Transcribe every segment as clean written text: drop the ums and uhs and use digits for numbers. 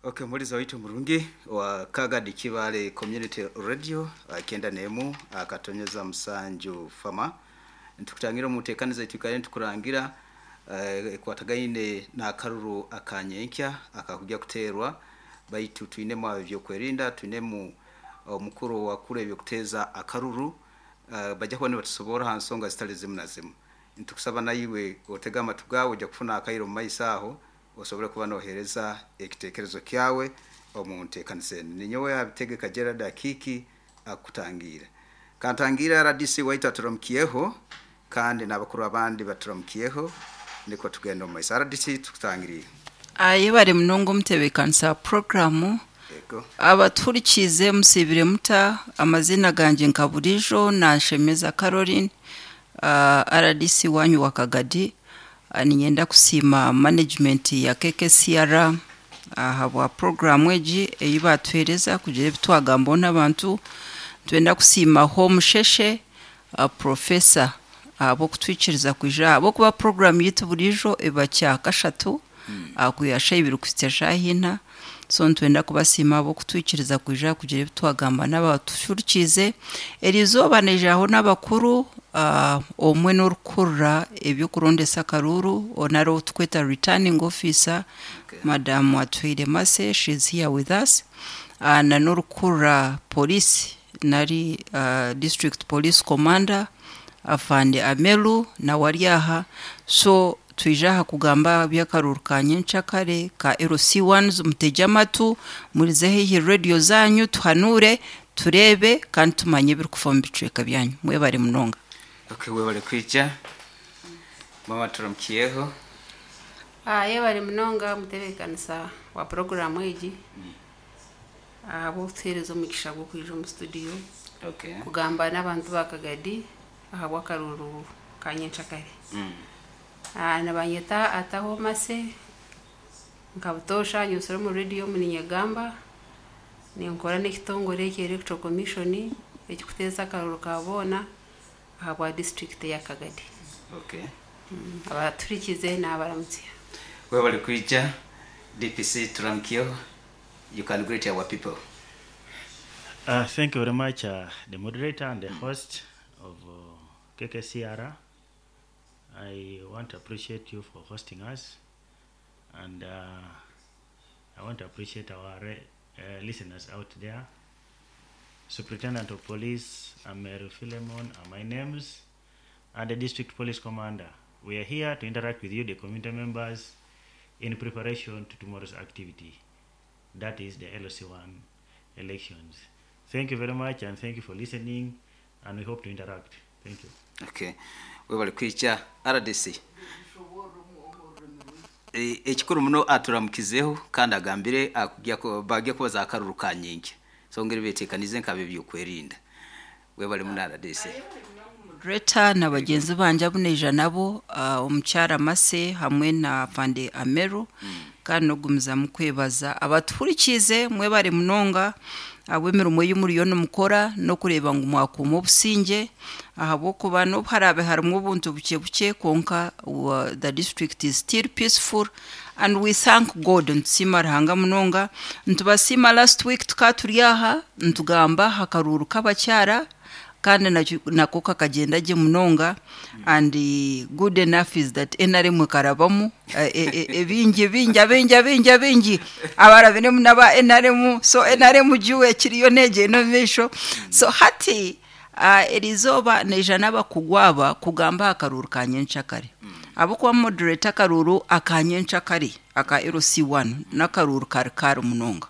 Okay, muliza waitu murungi wa Kagadi Kibale Community Radio akenda nemu akatonyeza musanju fama ntukutangira mutekaniza itukale ntukurangira ekwatagaine n'akaruru akanyenkya akakujya kuterwa baitu twinemu ebyokwerinda twinemu omukuru wakuru ebyokuteza akaruru bajja kuba nibatusoborra ha nsonga zitali zimu na zimu. Nitukusaba naiwe otege amatu gawe ojja kufuna akairo mu maiso aho osobole kuba nohereza ekitekerezo kyawe omu nteekaniza enu. Ninyowe Habitegeka Gerald Akiiki akutangiire. Kantangiire RDC waitu aturamukiyeho kandi n'abakuru abandi baturamukiyeho nikwo tugenda omu maiso. RDC tukutangiriire. Ayebare munonga omutebeekanisa wa puroguraamu. Yego. Abatuhurikiize musiibire muta? Amaziina gangye nka buriijo Nanshemeza Caroline, RDC waanyu wa Kagadi. Niinyenda kusiima management ya KKCR ahabwa puroguraamu egi ei baatuheereza kugira ebi twagambaho n'abantu. Nitwenda kusiima Home Sheshe, Professor ahabw'okutwikiriza kwija ahabw'okuba puroguraamu yaitu buriijo eba kyakashatu kwiha shaaha ibiri kuhitsya shaaha ina. So nitwenda kubasiima ahabw'okutwikiriza kwija kugira ebi twagamba n'abatuhurikiize. Eriizooba naijaho n'abakuru, omwe n'orikukurira eby'okurondesa akaruuru nari ou turikweta returning officer, Madam Atuhaire Mercy, she is here with us, na n'orikukurira police nari district police commander Afande Amelu nawe ari aha. So twija aha kugamba aha by'akaruuru ka nyencakare ka LC1, mutegye amatu, murize haihi rediyo zaanyu tuhanuure, tureebe kandi tumanye ebirikufa omu bicweka byanyu. Mwebare munonga. Okay, webale kwija. Mama turamukiyeho. Yebare munonga mutebeekanisa wa puroguraamu egi ahabw'okutuheereza omugisha gw'okwija omu studio kugamba n'abantu ba Kagadi ahabw'akaruuru ka nyencakare. Nibanyeta Ataho Mercy, nka butoosha nyutsire omu rediyo omu niinyegamba, ninkora n'ekitongore ekya Electoral Commission ekirikuteeza akaruuru ka boona ahabwa disiturikiti eya Kagadi. Abaturikize naabaramutsya. Webale kwija DPC turamukiyeho. You can greet our people. Thank you very much, the moderator and the host of KKCR. I want to appreciate you for hosting us, and I want to appreciate our listeners out there. Superintendent of Police Ameru Philemon are my names, and the District Police Commander. We are here to interact with you, the community members, in preparation to tomorrow's activity, that is the LOC1 elections. Thank you very much, and thank you for listening, and we hope to interact. Thank you. Okay. Webale kwija RDC. Ekikuru muno aturamukizeho kandi agambire bagya kubaza akaruru ka nyenkya. So ngeri betekanize nkabe byokwerinda. Webale muno RDC. Moderator na bagyenzi bangye abu naija nabo, omukyara Mercy hamwe na Afande Ameru, kandi n'okugumizamu kwebaza abatuhurikiize mwebare munonga ahabw'emirimo ei muriyo nimukora n'okureeba ngu mwakuuma obusingye ahabw'okuba n'obu haraabe harimu obuntu bukye bukye kwonka the district is still peaceful and we thank God. Nitusiima Ruhanga munonga. Nitubasiima last week tukaba turi aha nitugamba aha karuuru k'abakyara kandi nako kakagyenda gye munonga and good enough is that NRM ekarabamu ebingi bingi abingi abingi abingi abarabiremu n'aba NRM, so NRM juwe ekiriyo neegyenda omu maisho. So hati eriizooba naija n'abakugu aba kugamba aha karuuru ka nyencakare ahabw'okuba moderator akaruuru aka nyencakare aka LC1 n'akaruuru kari kari munonga.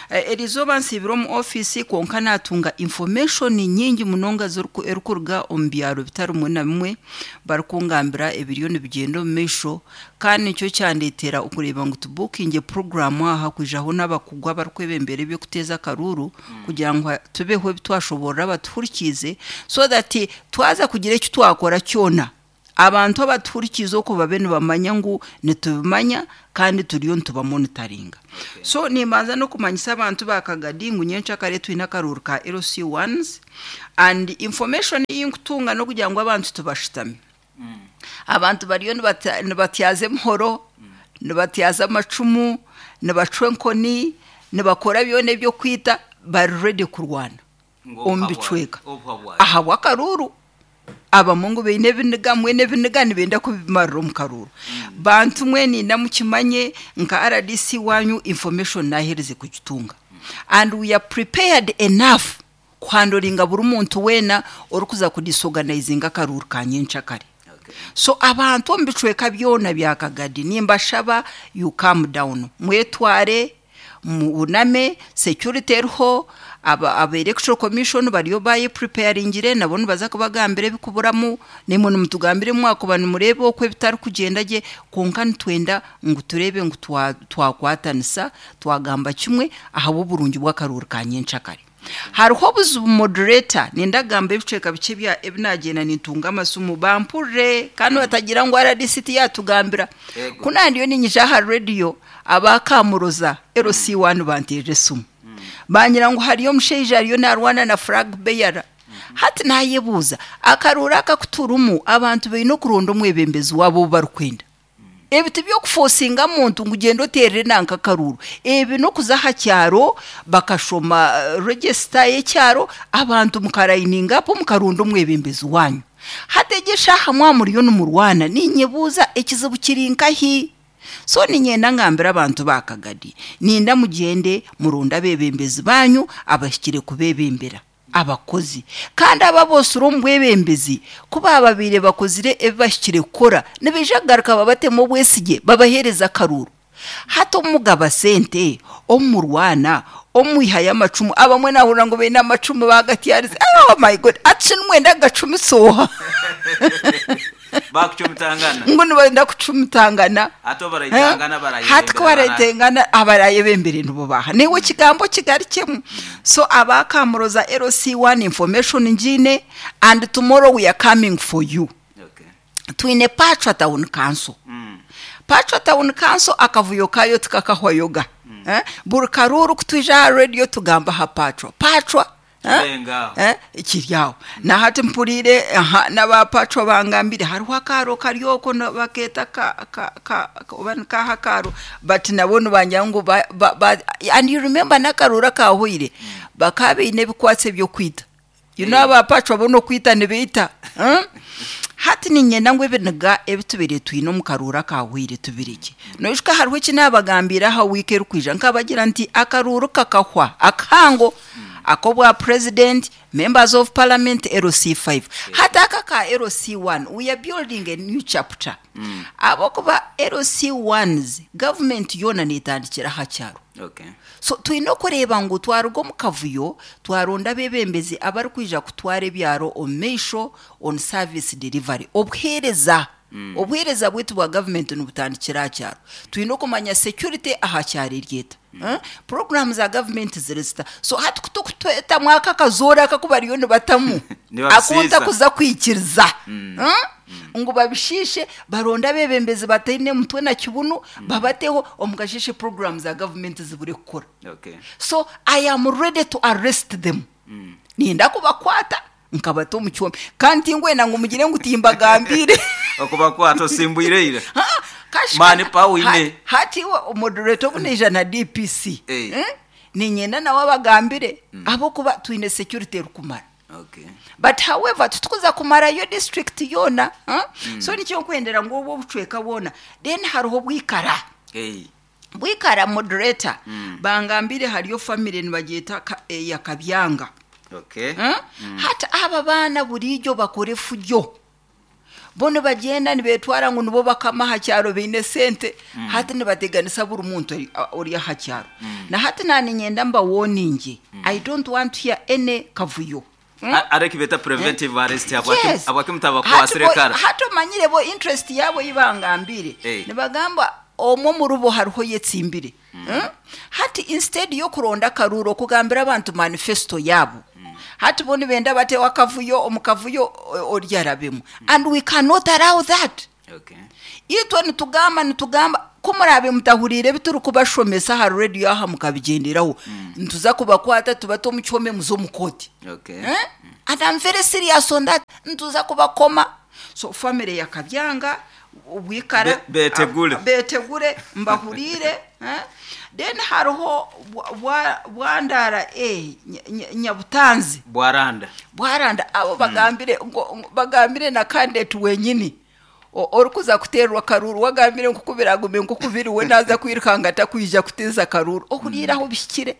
Eriizooba nsiibire omu ofiisi kwonka naatunga information nyingi munonga erikuruga omu byaro bitari bimwe na bimwe barikungambira ebiriyo nibigyenda omu maisho kandi nikyo kyandeetera okureeba ngu tubukinge puroguraamu aha kwijaho n'abakugu abarikwebembera eby'okuteeza akaruuru kugira ngu tubeho ebi twashoboorora abatuhurikiize so that twaza kugira eki twakora kyona abantu abatuhurikiize okwo babe nibamanya ngu nitubimanya kandi turiyo nitubamonitaringa. So nimbanza n'okumanyisa abantu ba Kagadi ngu nyencakare twine akaruuru ka LC1s and information ei nkutunga n'okugira ngu abantu tubashutami. Abantu bariyo nibatyaza emihoro. Nibatyaza amacumu, nibacwa enkoni, nibakora byona ebyokwita, bari ready kurwana omu bicweka ahabw'akaruuru. Abamwe ngu baine ebiniga, mbwenu ebiniga nibenda kubimarira omu karuuru. Bantu mwe ninda mukimanye nka RDC wanyu information naaherize kugitunga and we are prepared enough kuhandoringa buri muntu weena orikuza kudisorganizinga akaruuru ka nyenkyakare. So abantu omu bicweka byona bya Kagadi nimbashaba you calm down, mwetware, muhuname, security eriho, aba aba electoral commission bariyo bayepreparingire nabo nibaza kubagambira ebikuburamu, naimwe nimutugambira ebi mwakuba nimureeba oku ebitarikugyenda gye, kwonka nitwenda ngu tureebe ngu twakwatanisa twagamba kimwe ahabw'oburungi bw'akaruuru ka nyenkyakare. Hariho obuzibu moderator, nenda kugamba ebicweka bikye ebya ebi naagyenda nintunga amasimu bampurire kandi batagira ngu RDC tiyatugambira. Ego. Ku naandiyo niinyija aha radio, aba Kamuroza LC1 banteerera esimu. Bangira ngu hariyo omushaija ariyo naarwana na flag bearer. Hati naayebuuza, akaruuru aka aku turimu abantu baine okuronda omwebembezi waabo ou barikwenda. Ebi tibyokufosinga muntu ngu gyenda oteerere nanka akaruuru. Ebi n'okuza aha kyaro bakashoma register y'ekyaro abantu mukarayininga apu mukaronda omwebembezi waanyu. Hati egi eshaaha mwaba muriyo nimurwana ninyebuuza ekizibu kiri nkahi? So niinyenda ngambire abantu ba Kagadi, ninda mugyende muronde abeebembezi baanyu abahikire kubeebembera. Abakozi kandi abo aboosire omu bwebembezi ku baababaire bakozire ebi bahikire kukora, nibaija kugaruka babatemu obwesigye babaheereze akaruuru. Hati obu mugaba sente, obu murwana, obu mwihayo amacumu, abamwe naahurira ngu baine amacumu baagatyarize, oh my God, hati shi nimwenda kugacumisa oha? Baakucumitangana. Ngu nibenda kucumitangana. Hati obu baraitangana Hati ku barayebembera baraitengana abarayebembere nibo baaha? Naiwe ekigambo okigarukyemu. So aba Kamuroza LC1 information ngiine and tomorrow we are coming for you. Okay. Twine Pachwa Town Council. Pachwa Town Council akavuyo kaayo tikakahwayoga. Eh? Buri karuuru ku twija aha radio tugamba aha Pachwa. Pachwa eh? Kirenga aho. Eh, kiri aho. Na hati mpuriire aha n'aba Pachwa bangambire hariho akaaro kari okwo bakeeta ka, ka, ka, oba nikaha akaaro but nabo nibangira ngu ba, ba, ba, and you remember n'akaruuru akaahweire bakaba baine ebikwatsi eby'okwita. You know aba Pachwa bo n'okwita nibaita. Hati niinyenda ngu ebiniga ebi tubaire twine omu karuuru akaahweire tubirekye. Noijuka hariho eki naabagambiire aha wiiki erikwija nkabagira nti akaruuru kakahwa akahango ak'obwa president, members of parliament, LC5. Hati aka aka LC1 we are building a new chapter. Ahabw'okuba LC1s government yoona neetandikira aha kyaro. Okay. So twine okureeba ngu twaruga omu kavuyo twaronda abeebembezi abarikwija kutwara ebyaro omu maisho on service delivery, obuheereza. Obuheereza bwaitu bwa gavumenti nibutandikira aha kyaro. Twine okumanya security aha kyaro eri eta, puroguraamu za gavumenti ziri zita. So hati ku turikutwetamu aka akazoora aka aku bariyo nibatamu, Nibabisiisa. aku ntakuza kwikiriza, ngu babishiishe, baronde abeebembezi bataine mutwe na kibunu, babateho, omu kasheeshe puroguraamu za gavumenti zibure kukora. Okay. So I am ready to arrest them. Niinyenda kubakwata nkabata omu kyoma. Kandi tinkwenda ngu mugire ngu timbagambiire. Okubakwata osimbwire ira. Ha, kashika Mani power oine. Hati iwe moderator obu naija na DPC, Eh. niinyenda nawe abagambire ahabw'okuba twine security erikumara. Okay. But however, titukuza kumarayo district yoona. So nikyo nkwendera ngu obwo obucweka bwona. Then hariho Bwikara. Eh. Bwikara moderator, bangambire hariyo family nibagyeta eya Kabyanga. Okay. Hati aba baana buriijo bakora efujo. Bo nibagyenda nibetwara ngu nibo bakama aha kyaro baine sente, hati nibateganisa buri muntu ori aha kyaro. Na hati naaniinyenda mbawoninge, I don't want to hear any kavuyo. Ari eki beeta preventive arrest Yes. habwaki mutabakwasire Hati bo- kara? Hati omanyire bo interest yaabo ei bangambire, nibagamba omwe omuri bo hariho oyetsimbire. Hati instead y'okuronda akaruuru okugambira abantu manifesto yaabo, hati bo nibenda bateho akavuyo, omu kavuyo ori arabemu. And we cannot allow that. Okay. Itwe nitugamba, nitugamba, ku muraabe mutahuriire ebi turikubashomesa aha rediyo aha mukabigyenderaho, nituza kubakwata tubate omu kihome muze omu kooti. Okay. And I'm very serious on that. Nituza kubakoma. So family ya Kabyanga, Bwikara. Betegure. Betegure, mbahurire, eh? Then hariho Bwandara A, Nyabutanzi. Bwaranda. Bwaranda abo bagambire bagambire na candidate wenyini orikuza kuterwa karuru, wagambire nkukubiragume nkukubiri we naza kwirukanga atakwija kuteza karuru ohuriire aho bihikire.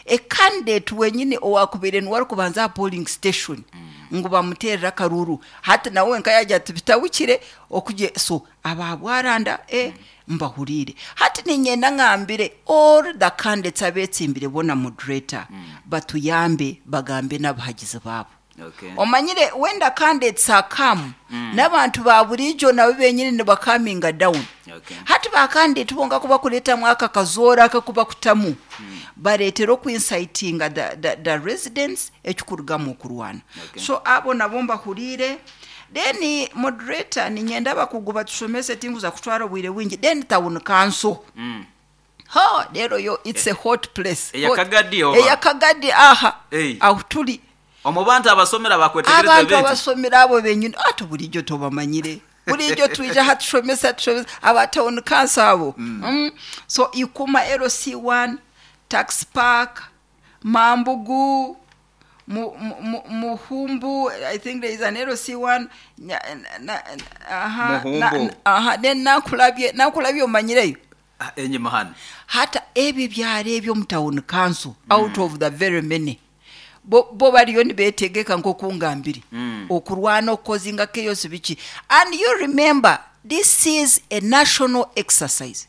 Ecandidate wenyini owakubire niwe arikubanza aha polling station ngu bamuterere akaruru, hati nawe nka yagira ati bitawukire okugye. So aba Bwaranda mbahurire. Hati ninyenda ngambire all the candidates abetsimbire bona, moderator, batuyambe bagambe n'abahagizi baabo. Omanyire when the candidates are come, n'abantu ba burijo nabo benyini nibakaminga down. Hati bakandidate bonka kuba kuretamu aka kazoora aka kuba kutamu bareetera okuincitinga the residents, ekikurugamu okurwana. So abo nabo mbahurire. Then moderator, ninyenda abakugu batushomese, tinguza kutwara obwire bwingi. Then town council, ho rero yo it's a hot place. Eya Hot. Kagadi oba? Eya Kagadi aha. Ei. Aho turi. Omu bantu abasomera bakwetegereza Abantu betu. abasomera abo benyini, ati bulijjo tobamanyire, bulijjo twija hatushomesa, tushomesa aba town council abo. So Ikuma LC1, Tax Park, Mambugu, Muhumbu, I think there is an LC1 aha, Muhumbu. Aha, then Nakulabye omanyireyo? Ah, enyuma hano. Hata ebyo byalo ebyo mu town council, out of the very many, bo bariyo nibetegeka nk'okungambire okurwana okukozinga chaos biki. And you remember, this is a national exercise.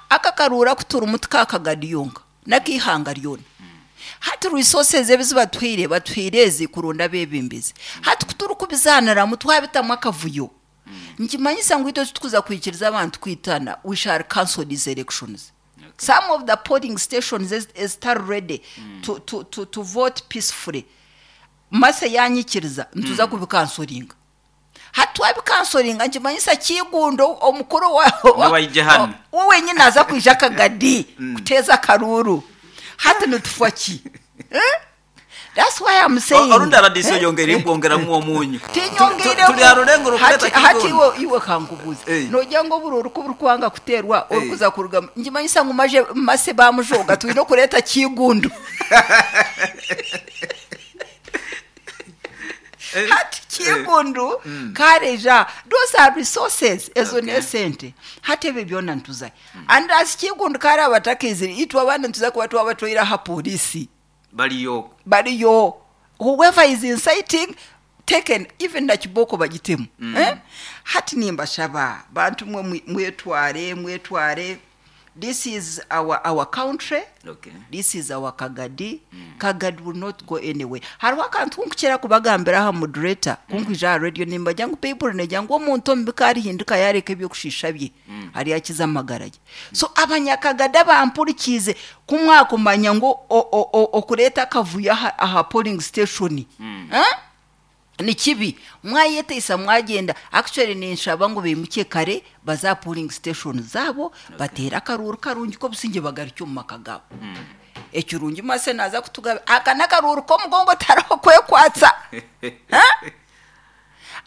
Aka karura kuturimu tikakagadiyonga nakihanga ryona. Hati resources ebi zibatuhaire, batuhaire ezi kurunda abebembezi. Hati kuturi kubizaniramu twabitamu akavuyo, nkimanyisa ngu itwe titukuza kwikiriza abantu kwitana. We shall cancel these elections. Some of the polling stations ezitari ready to vote peacefully, mase yanyikiriza nituza kubikansoringa. Hati twabikansoringa, nkimanyisa Kigundo omukuru wa Niwaije hano. We wenyine aza kwija Akagadi kuteeza akaruru. Hati nitufa ki, eh? That's why I'm saying Orundi RDC oyongera imbwongeramu omunyu. Tinyongeiremu. Turi aha rurengo Hati rukureta hati Kigondo. iwe kankubuza, Eh. nojya ngo buri oruku burikwanga kuterwa orikuza kuruga, nkimanyisa ngu maje mase bamujoga, twine okureta Kigundu. Hati Kigundu kareja, those are resources ezo nesente. Hati ebyo byona ntuzayo, and as Kigundu kare abatakizire itwe abandi ntuza kuba twaba aha polisi. Baliyo. Bariyo. Whoever is inciting, taken, even na kiboko bagitemu, eh? Hati nimbashaba bantu mwe, mwetware, mwetware. This is our country. This is our Kagadi. Kagadi will not go anywhere. Hariho akantu kunkukira kubagambira aha, moderator, kunkwija aha radio, nimbajya ngu Bayibuli nejya ngu omuntu omubi karihinduka yareka ebyokushisha bye, ari akiza amagara ge. So abanyakagadi abampurikiize, kumwakumanya ngu okureeta akavuyo aha polling station, eh? Ni kibi, mwayeteisa mwagenda. Actually ninshaba ngu bimuke kare baza polling station zabo, batere akaruru karungi k'obusinge, bagarukye omu maka gabo. Ekirungi mase naza kutugabe aka n'akaruru k'omugongo, tariho kwekwatsa. Ha?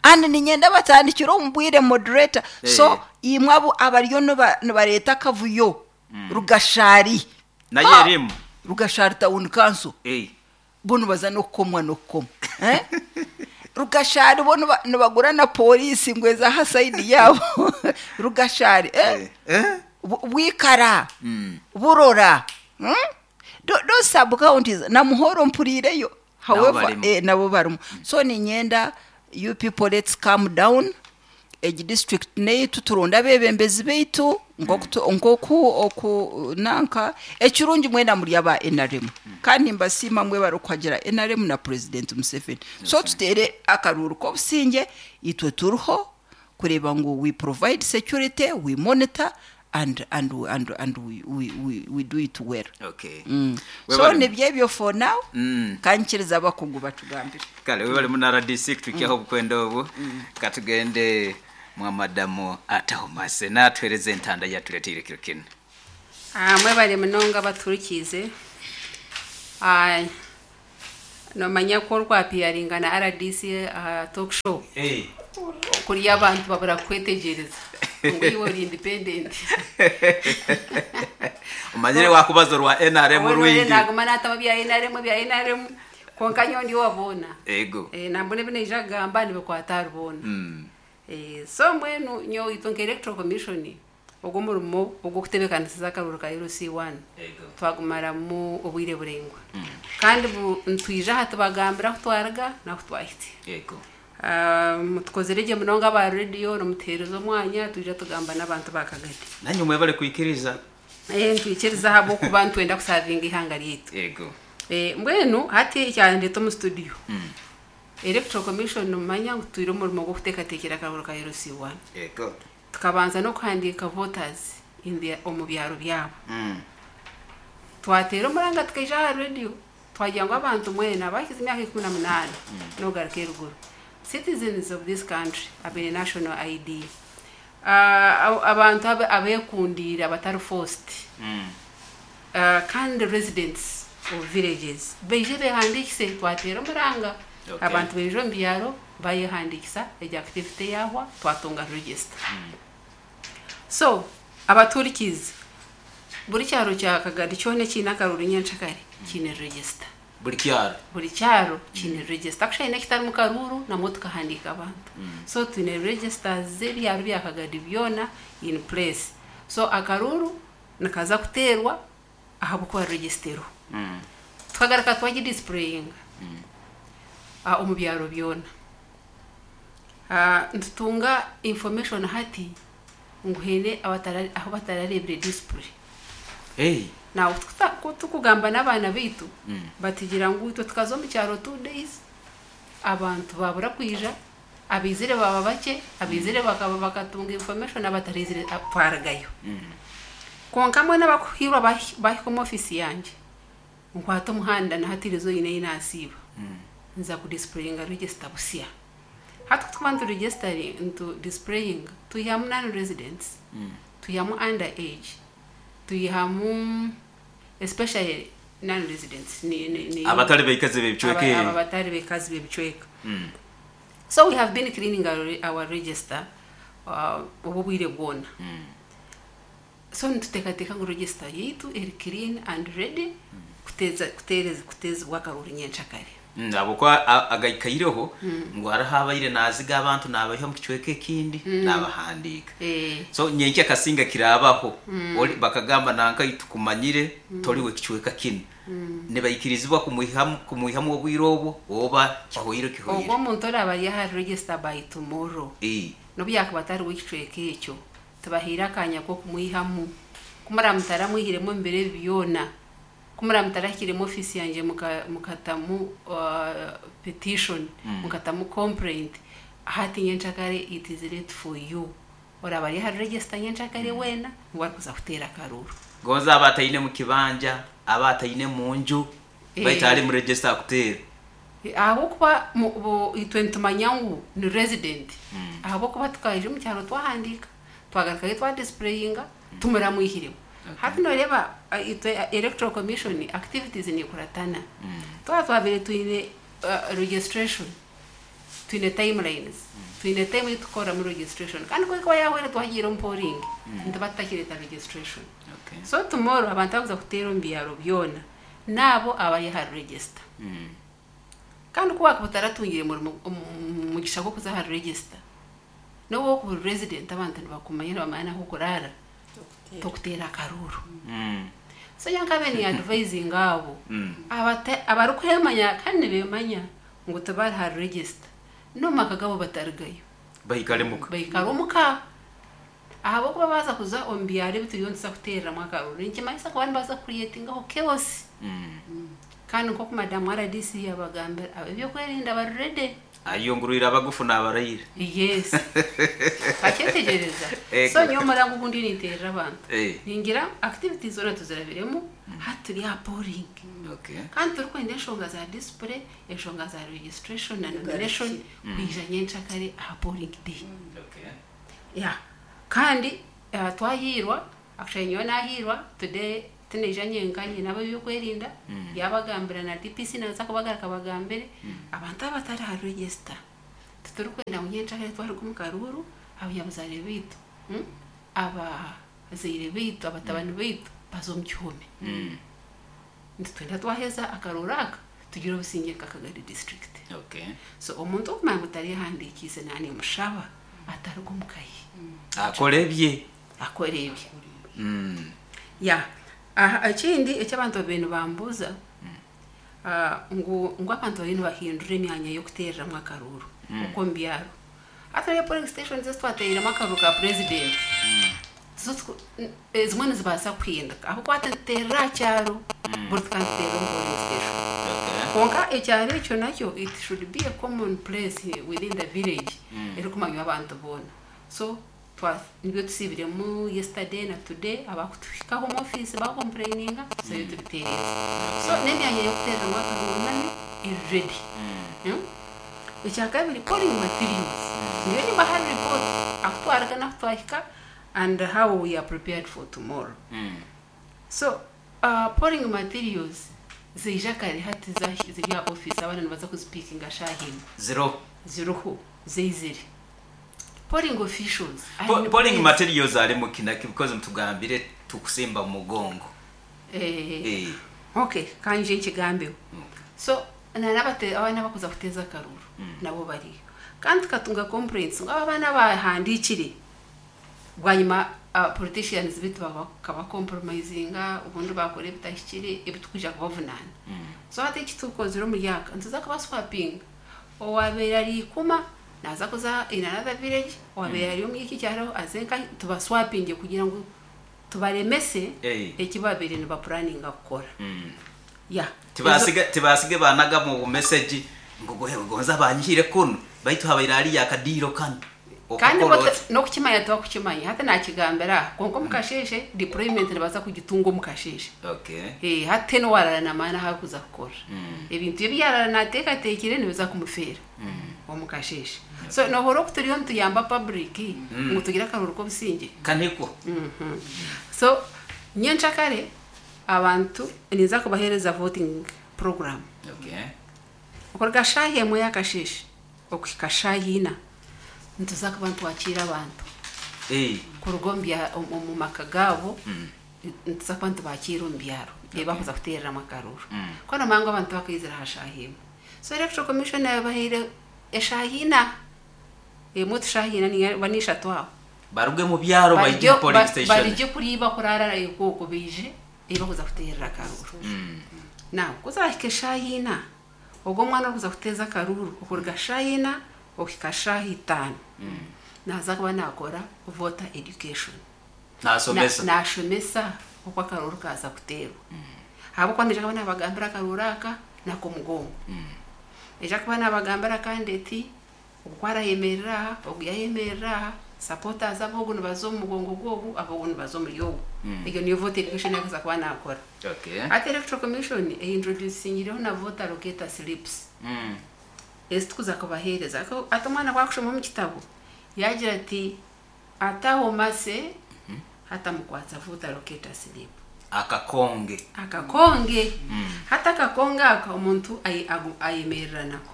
And ninyenda batandikire omu bwire, moderator. So imwe abo abariyo nibareeta akavuyo Rugashari. Nayo Ah! erimu. Rugashari town council, bo nibaza n'okukomwa n'okukomwa, eh? Rugashari bo nibagura na polisi ngo eza aha side yabo Rugashari, eh? Eh? Bwikara, Burora, Those sub counties na Muhoro mpurireyo. However, Barimo. Nabo barimo. So ninyenda you people, let's calm down. Egi district neitu, turonda abebembezi beitu nkoku oku nanka. Ekirungi mwena muri aba NRM, kandi mbasiima mwe bari kuhagira NRM na President Museveni. So tutere akaruru k'obusinge. Itwe turiho kureba ngu we provide security, we monitor and we do it well. So nibyo ebyo for now. Kankiriza abakugu batugambire. Kale webale muna RDC kutukiaho obukwenda obu. Katugende mwa madamu Atahomase natwereza entanda yatuleteire kiro kino. Ah, mwebale munonga baturikize. Ah, nomanya ko orwapiyaringa na RDC aha talk show, kurya abantu babura kwetegereza. Ngu iwe ori independent. Omanyire wakubaza orwa NRM rwingi. Naguma nataba bya NRM, bya NRM, konka nyowe ndi owa boona. Ego. Nambona ebi naija kugamba nibikwata ahari boona. So mbwenu nyowe itwe nka Electoral Commission, ogwo omurimo ogw'okutebeekanisiza akaruru ka LC1 twagumaramu obwire buraingwa, kandi nitwija aha tubagambira ahu twaruga n'ahu twahitsya. Tukozire gye munonga aba rediyo nimutuheereza omwanya twija tugamba n'abantu ba Kagadi. Nanye mwebale kwikiriza. Nitwikiriza ahabw'okuba nitwenda kusavinga ihanga ryaitu. Mbwenu hati ekyandeta omu studio, Electoral Commission nimumanya ngu twire omurimo gw'okuteekateekera akaruru ka LC1. Tukabanza n'okuhandiika voters omu byaro byabo. Twateera omuranga tukaija aha rediyo twagira ngu abantu mwena abahikize emyaka 18 n'okugaruka eruguru, citizens of this country abaine national ID, abantu abeekundiire abatari forced, kandi residents of villages baije behandiikise. Twateera omuranga, abantu baija omu byaro bayehandiikisa. Egyo activity yahwa, twatunga register. So abaturikize, buri kyaro kya Kagadi kyona ekiine akaruru nyenkyakare kiine register. Buri kyaro. Buri kyaro kiine register. Akushaine ekitarimu karuru namwo tukahandiika abantu. So twine registers z'ebyaro bya Kagadi byona in place. So akaruru nikaza kuteerwa ahabw'okuba register eriho. Tukagaruka twagidisplayinga omu byaro byona. Nitutunga information hati ngu haine ahu batarareebire display. Now tukugamba n'abaana baitu, batugira ngu itwe tukaza omu kyaro 2 days, abantu babura kwija, abaizire baba bakye, abaizire bakaba bakatunga information, abataraizire twarugayo. Konka mbwenu abakuhiirwa bahika omu ofisi yangye, nkwata omuhanda na hati erizo nyine ei nasiiba, nza kudisplayinga register busya. Hati kutukuba nitu displayinga, twihamu non residents, twihamu under age, twihamu especially non residents ni Abatari baikazi b'ebicweka aba ebi. Abatari bekazi b'ebicweka. So we have been cleaning our register obu bwire bwona. So nituteekateeka ngu register yaitu eri clean and ready kuteeza kuteereza kuteezibwa akaruru nyenkyakare. Ahabwokuba agaikaireho ngu hariho abaire naziga abantu nabaiha omu kicweka ekindi nabahandiika. So nyenkya kasinga kirabaho. Oli bakagamba nanka tukumanyire toriwe kicweka kinu, nibaikirizibwa kumwihamu obwire obwo oba kihoire kihoire? Ogwo omuntu oraba ari aha register by tomorrow, n'obu yakuba atari w'ekicweka ekyo, tubahaire akanya k'okumwihamu. Kumuraba mutaramwihiremu omu biro ebi byona, kumuraba mutarahikiremu ofiisi yangye mukatamu petition, mukatamu complaint, hati nyenkyakare it is late for you. Oraba ari aha register nyenkyakare weena niwe arikuza kuteera akaruru. Gonza aba ataine mu kibanja, aba ataine mu nju, baitu ali mu register akuteera. Ahabwokuba itwe nitumanya ngu ni resident, ahabwokuba tukaija omu kyaro twahandiika, twagarukayo twadisplayinga, tumuramwihiremu. Hati noreeba itwe Electoral Commission activities nikuratana. Twaba twabire twine registration, twine timelines, twine time eyitukukoramu registration, kandi kwekuba yahwere twagiire omu polling, nituba tutakireta registration. So tomorrow abantu abakuza kuteera omu byaro byona naabo abari aha register. Kandi ku wakuba otaratungire murimo mugisha gw'okuza aha register, n'obu wokuba ori resident, abantu nibakumanya, nibamanya n'ahu okuraara, tokuteera akaruru. So nyowe nkabe ni advising abo abarikwemanya kandi nibemanya ngu tibari ha register, n'omu maka gabo batarigayo. Baikare muka. Baikara omuka, ahabwokuba baza kuza omu byaro ebi turiyo nituza kuteereramu akaruru, nikimanyisa kuba nibaza kucreatingaho chaos. Kandi nk'oku madamu RDC yabagambira, ab'ebyokwerinda bari ready. Ayungurwire abagufu n'abaraire. Yes, bakyetegereza. So nyowe omurango ogundi ninteerera abantu, ningira activities zoona tuzirabiremu, hati turi aha polling. Kandi turikwenda enshonga za display, enshonga za registration na nomination kwija nyenkyakare aha polling day. Yeah. Kandi twahiirwa, actually nyowe nahiirwa today, tinaija nyenka, nyine ab'ebyokwerinda yabagambira na DPC naza kubagaruka bagambire abantu abatari aha register. Titurikwenda ngu nyenkyakare twaruga omu karuuru abanyabuzaare baitu, Abazaire baitu, abatabani baitu baza omu kihome. Nitwenda twaheza akarooro aka tugire obusingye nka Kagadi district. Okay. So omuntu okumanya ngu tareehandiikiise naanimushaba ataruga omu ka ye. Akore ebye. Akore ebye. Ya. Aha ekindi eki abantu babaire nibambuuza ngu ngu abantu bariyo nibahindura emyanya y'okuteereramu akaruuru okw'omu byaro. Hati hariyo polling stations ezi twateereiremu akaruuru ka purezidenti. Zo tiku- ezimwe nizibaasa kuhinduka ahabw'okuba hati nituteerera aha kyaro buri tukaba nituteerera omu polling station. Okay. Kwonka ekyaro ekyo nakyo it should be a common place within the village erikumanywa abantu boona. So twa nibyo tusiibiremu yesterday na today abakutuhikaho omu ofiisi bakompureyininga tuzayo tubitereeze. So n'emyanya y'okuteereramu akaruuru nayo eri ready. Ekyakabiri polling materials nyowe nimbaha report ahu twaruga n'ahu twahika and how we are prepared for tomorrow. So polling materials zaija kare hati ziri aha office abaana nibaza kuzipikinga shaaha emwe. Ziriho. Ziriho zaizire. Polling officials Po- Polling materials ari mukinaki because mutugambire tukusimba mu mugongo. Eh, Eh. okay kanje nkigambeho. So na n'abate abaana abakuza kuteeza akaruuru nabo bariyo. Kandi tukatunga complaints ngu aba abaana bahandiikire bwanyima politicians beitu bakabacompromisinga obundi bakora ebitahikire ebi tukwija kubavunaana. So hati eki tukozire omuri aka nituza kubaswapinga owabaire ari Ikuma naaza kuza in another village, owabaire ari omuri eki kyaro aze nkahi tubaswapinge kugira ngu tubaremese Eh. eki babaire nibapuraninga kukora. Yeah. Tibasige tibasige banaga mu message ngu gohe gonza banyihire kunu baitu habaire ari yakadiiro kanu. Kandi Okukora oti. n'okukimanya tibakukimanya hati nakigambira aha kwonka omu kasheeshe deployment nibaza kugitunga omu kasheeshe. Okay. Eh, hati n'owarara namaani ahu arikuza kukora ebintu ebi yarara nateekateekire nibiza kumufeera omu kasheeshe. So nohurira oku turiyo nituyamba public ngu tugire akaruuru k'obusingye. Kaniko. So nyenkyakare abantu ninza kubaheereza voting program. Okay. Okuruga shaaha emwe y'akasheeshe okuhika shaaha ina nituza kuba nitwakiira abantu Eh. kuruga omu bya- omu omu maka gaabo nituza kuba nitubakiira omu byaro ebi bakuza kuteereramu akaruuru. Ku nomanya ngu abantu bakaizire aha shaaha emwe. So electoral commission yabahaire eshaaha ina, emwe ti shaaha ina ninga oba n'ishatu aho. Baruge mu byaro baije mu polling station. Barigye kuriya bakuraara okwo baije ei bakuza kuteerera akaruuru. Now ku zirahika eshaaha ina, ogwo omwana orikuza kuteeza akaruuru okuruga shaaha ina okuhika shaaha itaano naaza kuba naakora voter education. Nasomesa. Naashomesa oku akaruuru kaaza kuteerwa. Ahabw'okuba naija kuba naabagambira akaruuru aka n'ak'omugongo. Naija kuba naabagambira kandi eti ogu arayemerera aha, ogu yayemerera aha, supporters ab'ogu nibaza omu mugongo gw'ogu, ab'ogu nibaza omuri ogu. Egyo niyo voter education ei akuza kuba naakora. Okay. Hati electoral commission eintroducingireho na voter locator slips ezi tukuza kubaheereza. Hati omwana ku akushoma omu kitabo yaagira ati ataho mase hati amukwatsa voter locator slip. Akakonge. Akakonge. Hati akakonge aka omuntu ayemerera nako.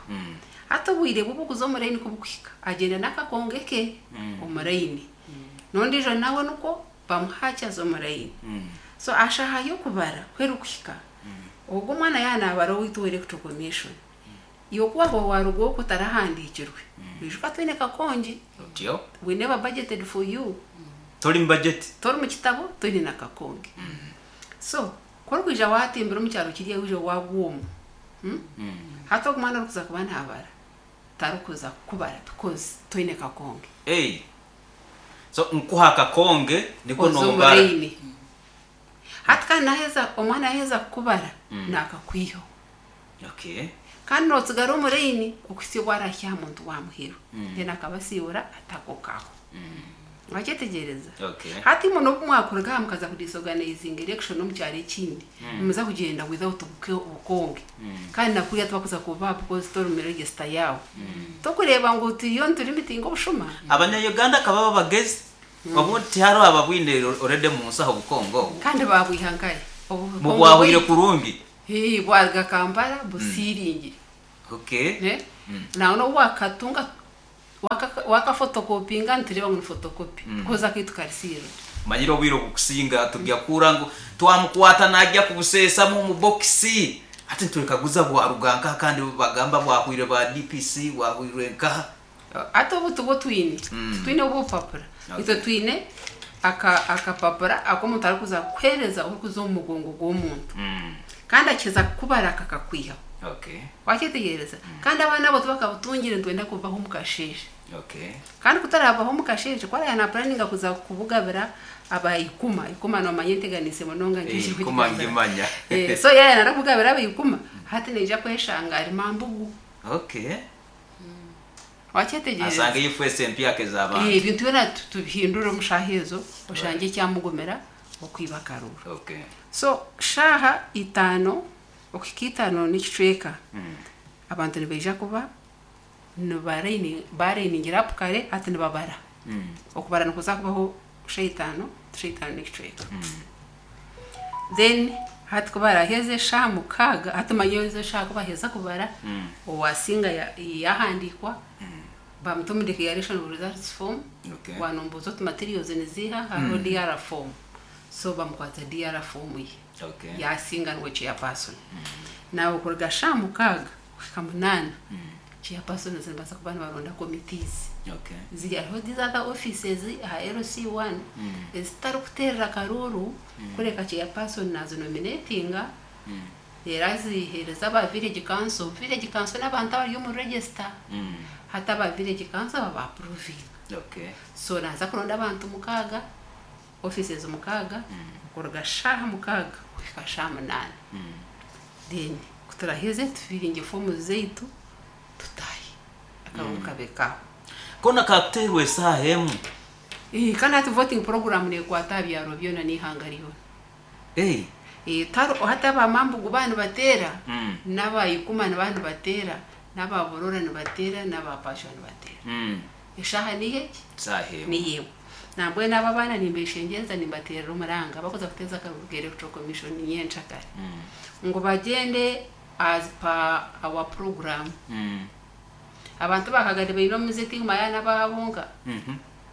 Hati obwire bwe obw'okuza omu layini ku bukuhika agyenda n'akakonge ke omu layini. N'ondiijo nawe nikwo bamuha akyaza omu layini. So aha shaaha y'okubara ku erikuhika, ogwo omwana yaaba naabara owaitu owa electoral commission, iwe ku waaba waaruga okwo otarahandiikirwe, oijuka toine kakonge. Otyo. We never budgeted for you. Tori mu budget. Tori mu kitabo, toine na kakonge. So ku orikwija waatimbira omu kyaro kiriya waija waagwa omu, Hati ogu mwana orikuza kuba naabara tarikuza kukubara because toine kakonge. Hey. So nkuha akakonge niko Oza omu nobara. layini. Hati kandi naheza omwana yaheza kukubara nakakwihaho. Okay. Kandi notsigara omu layini okuhitsya obu arahika aha muntu wa muheru. Then akabasiibura atakokaho. Wakyetegyereza? Okay. Hati imwe n'obu mwakuruga aha mukaza kudisorganizinga election omu kyaro ekindi, nimuza kugyenda without obukonge. Kandi na kuriya tibakuza kububaha because tori omu register yaabo. Tokureeba ngu turiyo nitulimitinga obushuma? Abanya-Uganda ka baba bagezi, obundi tihariho ababwine already omu nsaho obukonge obu. Kandi baabwiha nkahi? Obukonge Mubwahwire bwaitu. kurungi. Hii, bwaruga Kampala busiiringire. Okay. Nangwa n'obu waakatunga. Wakafotokopinga nitureeba ngu ni fotokopi koza akaitu kari sealed. Manyire obwire obukusinga tujya kuhurra ngu twamukwata najya kubuseesamu omu bokisi. Hati nitwekaguza bwaruga nkaha kandi bagamba bwahwire ba DPC, bwahwirwe nkaha? Hati obu tubwo twine, titwine obupapura. Itwe twine akapapura ak'omuntu arikuza kukuheereza orikuza omu mugongo gw'omuntu. Kandi akiza kukubara kakakwihaho. Wakyetegyereza? Kandi abaana abo tibakabutungire, nitwenda kubaha omu kasheeshe. Kandi kutarabaho omu kasheeshe, ku araabe naapuraninga kuza kubugabira aba ikuma, ikuma noomanya enteganiise munonga. Ikuma ngimanya. So yaaba naayenda kubugabira aba ikuma, hati naija kweshanga ari mambugu. Wakyetegyereza? Asanga eyifu empyaka ez'abantu. Ebintu byona tubihindure omu shaaha ezo, oshange ekyamugumira okwiba akaruru. So shaaha 5 okuhika 5:15, abantu nibaija kuba barayiningira up kare. Hati nibabara. Okubara nikuza kubaho shaaha 5, shaaha 5:15. Then hati ku baraheze shaaha 6, hati manya ezo shaaha ku baheza kubara, owasinga yahandiikwa, bamuta omu declaration of results form. Wanombuuza oti materials niziiha? Hariho DR form, so bamukwata DR form ye. Yasinga niwe chairperson. Nawe kuruga shaaha 6 kuhika 8, chairperson nibaza kuba nibaronda committees. Ziri hariho these other offices aha LC1 ezitarikuteerera karuru, kureka chairperson nazinominatinga, reero aziheereza aba village council. Village council n'abantu abari omu register. Hati aba village council baba approvinga. So naza kuronda abantu 6, offices 6, kuruga shaaha 6 kuhika shaaha 8. Then kuturaheze tufiringe fomu zaitu, tutahe, akaruru kabe kaho. Kona kakuteerwa esaaha 1? Kandi hati voting program neekwata aha byaro byona n'ihanga ryona. Hati abamambugu baba nibateera, n'abayikuma niba nibateera, n'ababurora nibateera, n'abapashwa nibateera. Eshaaha niyo egi? Saaha 1. Niyo emwe. Nambwenu abo abaana nimbeshengyereza, nimbateerera omuranga bakuza kuteeza akaruru ka Electoral Commission nyencakare, ngu bagyende as per our program. Abantu bakagade baine omuze tigumaya n'abaabonka.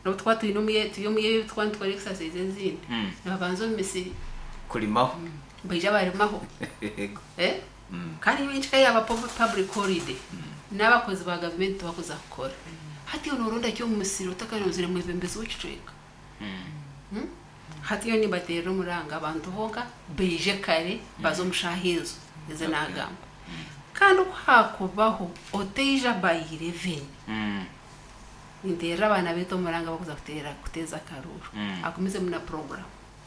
N'obu tukuba twine turi omu ebi tukuba nitukora exercise ezindi, nibabanza omu misiri kurimaho. Baija barimaho. Kandi nyenkika yaba public holiday, n'abakozi ba gavumenti tibakuza kukora. Hati iwe nooronda ki omu musiri otakaronzire mwebembezi w'ekicweka? Hati nyowe nimbateerera omuranga, abantu bonka baije kare, baze omu shaaha ezo ezi naagamba. Kandi ku hakubaho oteija by 11, ninteerera abaana baitu omuranga bakuza kuteera kuteeza akaruru, agumizemu na program.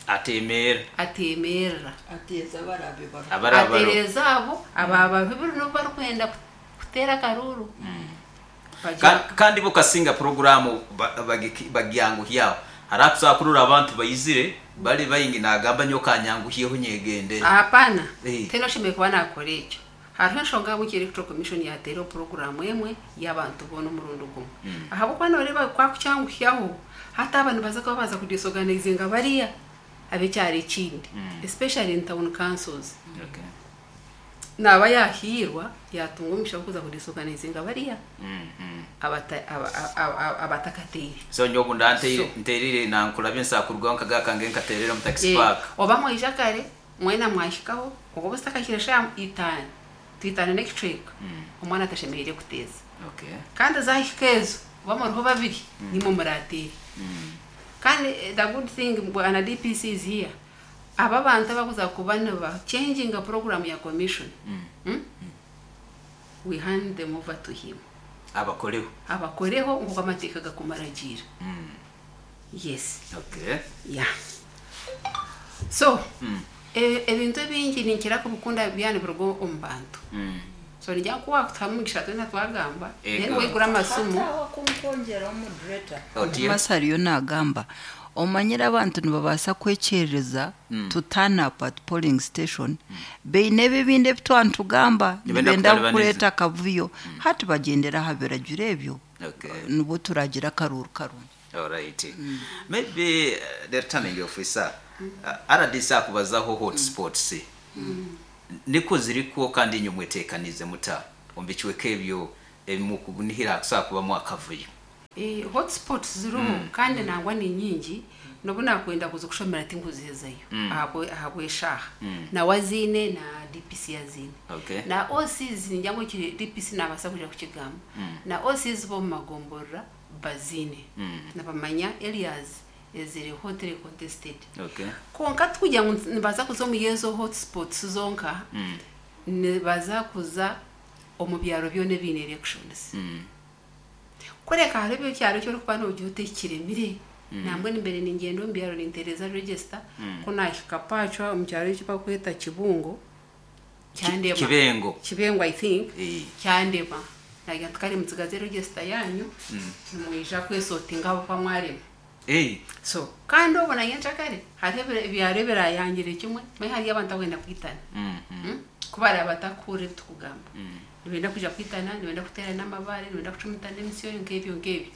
Atemeera. Ateemerera. Ateeza abarabe baro. Abaraba. Ateereza abo ababa biri n'obu barikwenda kuteera akaruru. Kandi bo kasinga programu bagyanguhyaho, hari akusobola kurora abantu bayizire bali bayingi, nagamba nyo kanyanguhyeho nyegendere. Hapana. Eh. Tena oshemereire kuba nakora ekyo. Hariho enshonga ahabw'enki Electoral Commission yateereho puroguramu emwe y'abantu boona omurundi gumwe, ahabw'okuba noreeba kwakukyanguhyaho, hati aba nibaza kuba baza kudisorganizinga bariya ab'ekyaro ekindi, especially in town councils. Naaba yahiirwa yatunga omugisha gw'okuza kudisorganizinga bariya abatakateire. So nyowe obu So. nteerire nankurabye nsakurugaho nkagaka nge nkateerera omu taxi park. Oba mwaija kare mwena mwahikaho, oba zitakahikire shaaha 5, 5:15, omwana atashemereire kuteeza. Kandi zahika ezo, oba muriho babiri, nimwe murateere. Kandi the good thing, bwana DPC is here, aba abantu abakuza kuba niba changinga program ya commission, We hand them over to him. Abakoreho. Abakoreho nkuko amateeka gakumaragiira. Yes. Yeah, so ebintu ebingi ninkira kubikunda byana biruga omu bantu. So nijya kuwa kutuhamu omugisha twena twagamba, then waigura amasimu. Hataho kumkwongyeraho, moderator. Otyo. Masi ariyo nagamba, omanyire abantu nibabaasa kwekyereza to turn up at polling station, beine ebibindi ebi twantugamba. Nibenda nibenda kutalibaniza. Kureeta akavuyo. Hati bagyendera aha biragiro ebyo, nibwo turagira akaruru karungi. Alright. Maybe the returning officer, RDC akubazaho hotspots. Niko ziriko kandi inywe mwetekanize muta omu bicweka ebyo ebimukunihira kusobola kubamu akavuyo? Eh, hotspots ziriho kandi nangwa ni nyingi nobu nakwenda kuza kushomera tinkuzihezayo ahabw'eshaaha nawe aziine na DPC aziine Okay. na OCs ningira ngu ekiri DPC nabaasa kuja kukigamba na OCs b'omu magomborora baziine nibamanya areas eziri hotly contested. Okay. Konka tikugira ngu nibaza kuza omu ezo hotspots zonka, nibaza kuza omu byaro byona ebiine elections. Kureka hariho ekyaro eki orikuba noogira oti eki kiremire, nambwenu mbere ningyenda omu byaro nintereeza register, ku naahika Pacwa omu kyaro eki barikweta Kibungo, kyandema. Kibengo. Kibengo I think, Eh. kyandema. Naagira nti kare mutsigaze register yaanyu, nimwija kwesotinga ahabw'okuba mwarema. Eh. So kandi obwo na nyenkyakare hariho ebyaro ebirayangire kimwe, manya hariyo abantu abarikwenda kwitana. Ku baraba batakuhurira ebi turikugamba, nibenda kwija kwitana, nibenda kuteerana amabaare, nibenda kucumitana emisyo nk'ebyo nk'ebyo.